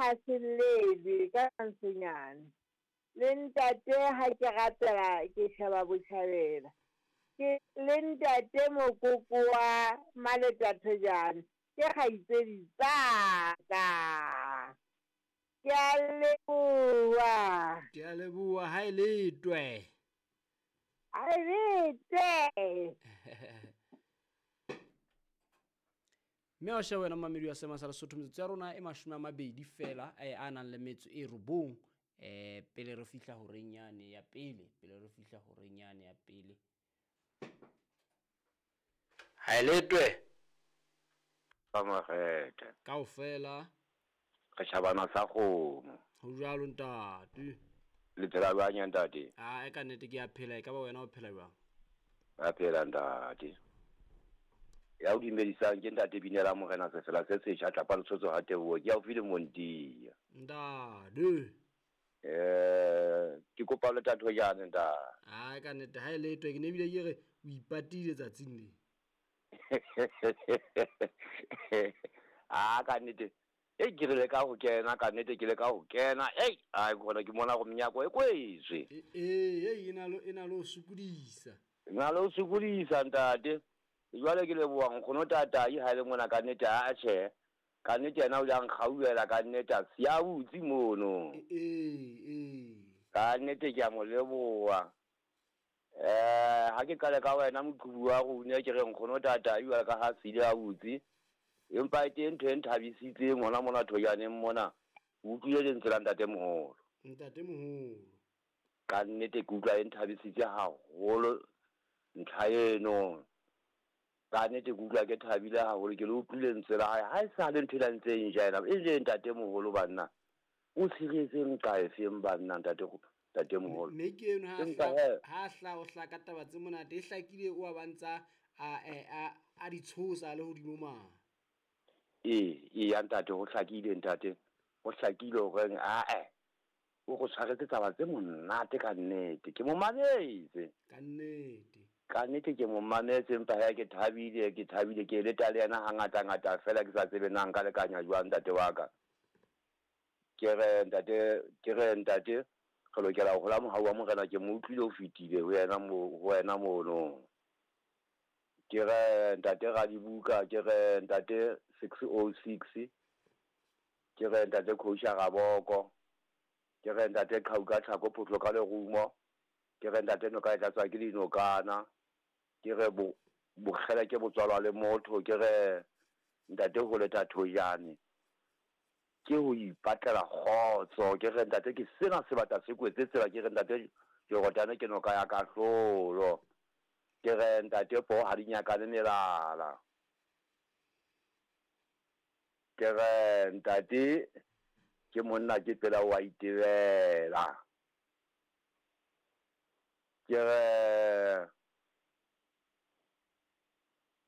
ha se llelwe ka mantswenyana. Le ntate ha ke rapela ke sheba botjhabela. Ke le ntate mokoko wa Maleta Thojane ke kgaitsedi tsa ka. Ke a leboha. Ke a leboha ha e letwe. Ha e letwe. Mme wa sheba wena momamedi wa Sema sa Lesotho, metsotso ya rona e 20 feela a nang le metso e 9 pele re fihla horeng yane ya pele, pele re fihla horeng yane ya pele. Ha e letwe. Ka makgethe. Kaofela. Re tjhabana sa kgomo. Ho jwalo ntate. Le phela jwang ya ntate? Ah, e ka nnete ke a phela, e ka ba wena o phela jwang? Ba phela ntate. Ya o dumedisang ke ntate Binela Morena Sefela se setjha tlapa Lesotho ha Teboho ke haufi le Montia. Ntate. Ke kopa le tatho jane ntate. Ah, e ka nnete ha e letwe ke ne ebile ke re o ipatile tsatsing le. Ah, ka nnete. Ei, ke re le ka ho kena, ka nnete ke le ka ho kena. Ei, ai gona ke mona go menyako e kwetswe. Ee, e na le ho sokodisa. E na le ho sokodisa ntate. Jwale ke leboha nkgono tatai ha le mona ka nnete a tjhe. Ka nnete yena o ile a nkgauela ka nnete a siya butse mono. Ee. Ka nnete ke a mo leboha. Ha ke qale ka wena moqhubu wa rona ke re nkgono tatai jwale ka ha sile a butse. Empa e teng ntho e nthabisitseng hona mona Thojaneng mona. O utlwile lentswe la ntate moholo. Ntate moholo. Ka nnete ke utlwa e nthabisitse haholo ntlha eno. Ka nnete ke utlwa ke thabile haholo ke le utlwile lentswe la hae. Ha e sa le ntho e ntseng ja ena. E le ntate moholo banna. O tshiretseng ka efeng banna ntate moholo. Mme ke eno ha hla o hla ka taba tse monate e hlakile o a bantsa a di tshosa le hodimo ma. Ee, ya ntate ho hlakile ntate. Ho hlakile hore ae o go tshwaretse taba tse monate ka nnete. Ke mo mametse. Ka nnete. Ka nnete ke mo mametse empa ha ke thabile, ke thabile ke le tale yena ha ngata ngata fela ke sa tsebe na nka lekanya jwang ntate wa ka. Ke re ntate re lokela ho hola mohau wa Morena ke mo utlwile o fetile ho wena mono. Ke re ntate Radibuka, ke re ntate 606, ke re ntate Khousha Raboko, ke re ntate Qhauka Tlhako Photlo ka lerumo, ke re ntate noka e tlatswa ke dinokana, ke re bokgele ke botswalwa le motho, ke re ntate ho leta Thojane ke ho ipatlela kgotso, ke re ntate ke sena sebata se kwetse tsela, ke re ntate Jordan ke noka ya kahlolo, ke re ntate po ha di nyakane melala, ke re ntate ke monna ke pela wa itebela, ke re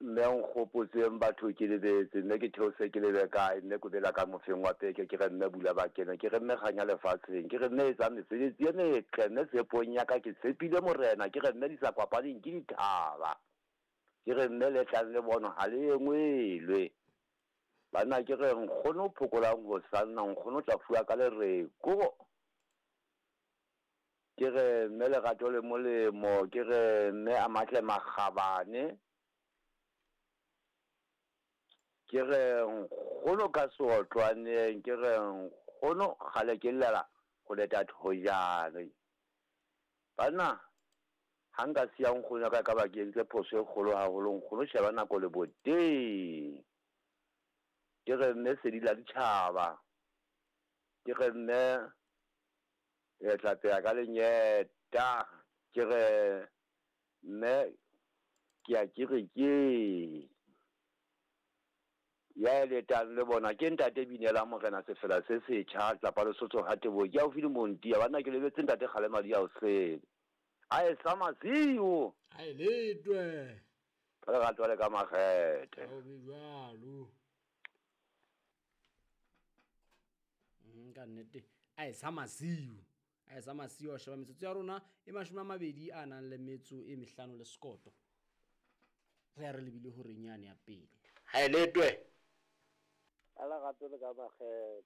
mme nkgopotseng batho ke lebetse, mme ke theose ke lebe kae, mme ko bela ka mofeng wa peke, ke re mme bula bakene, ke re mme kganya lefatsheng, ke re mme etsa mesebetsi e metle, mme tshepong ya ka ke tshepile Morena, ke re mme di sa kopaneng ke dithaba, ke re mme le tlang le bono ha le engwelwe. Banna ke re nkgono o phokolang ho sanna, nkgono o tla fuwa ka lereko. Ke re mme lerato le molemo, ke re mme a matle makgabane, ke re nkgono ka seotlwaneng, ke re nkgono kgale ke llela ho leta Thojane. Banna ha nka siya nkgono ka ka ba ke entse phoso e kgolo haholo, nkgono sheba nako le boteng. Ke re mme sedi la ditjhaba, ke re mme e tla peya ka lenyeta, ke re mme ke a ke re ke ya letang le bona ke ntate Binela Morena Sefela se setjha tlapa Lesotho ha Teboho ke haufi le Montia. Banna ke lebetse ntate Kgalema di a o sele. A e sa masiu. A e letwe. Ka lerato le ka makgethe. O be jwalo. Ka nnete a e sa masiu. A e sa masiu a sheba metsotso ya rona e 20 a nang le metso e 5 le sekoto. Re a re lebile horeng yane ya pele. Ha e letwe. Ka lerato le ka makgethe.